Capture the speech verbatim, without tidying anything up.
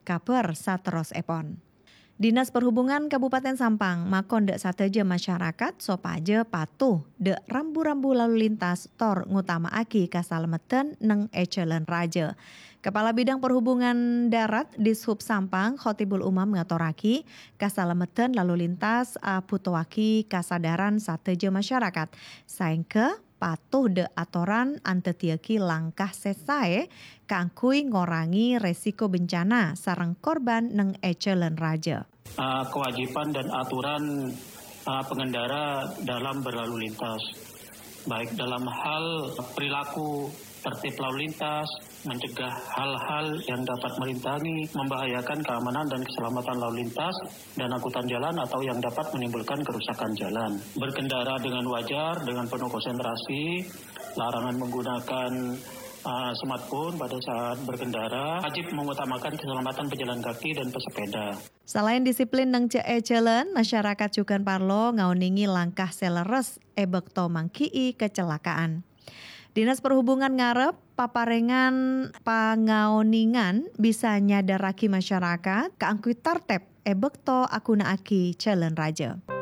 kabhâr saterrossèpon. Dinas Perhubungan Kabupaten Sampang makon dâ' sadhâjâ masyarakat sopajâ patuh dâ' rambu-rambu lalu lintas tor ngotama'aghi kasalameddhân neng è jhâlân rajâ. Kepala Bidang Perhubungan Darat Dishub Sampang, Khotibul Umam ngatorraghi, kasalameddhân lalu lintas abhutoaghi kasadaran sadhâjâ masyarakat, saèngghâ patuh dâ' atoran andaddhiyaghi langkah sè saè kaangghuy ngorangè resiko bencana sareng korban neng è jhâlân rajâ. Ah, kewajiban dan aturan ah, pengendara dalam berlalu lintas, baik dalam hal perilaku tertib lalu lintas, mencegah hal-hal yang dapat merintangi, membahayakan keamanan dan keselamatan lalu lintas dan angkutan jalan atau yang dapat menimbulkan kerusakan jalan. Berkendara dengan wajar, dengan penuh konsentrasi, larangan menggunakan ah, smartphone pada saat berkendara, wajib mengutamakan keselamatan pejalan kaki dan pesepeda. Salaèn disiplin neng jâ-, è jhâlân, masyarakat jhughân parlo ngaonèngè langkah sè lerres è bâkto mangghi'i kacelakaan. Dinas Perhubungan ngarep paparèngan pangaonèngan bisa nyadhârraghi masyarakat kaangghuy tartèb è bâkto aghuna'aghi jhâlân rajâ.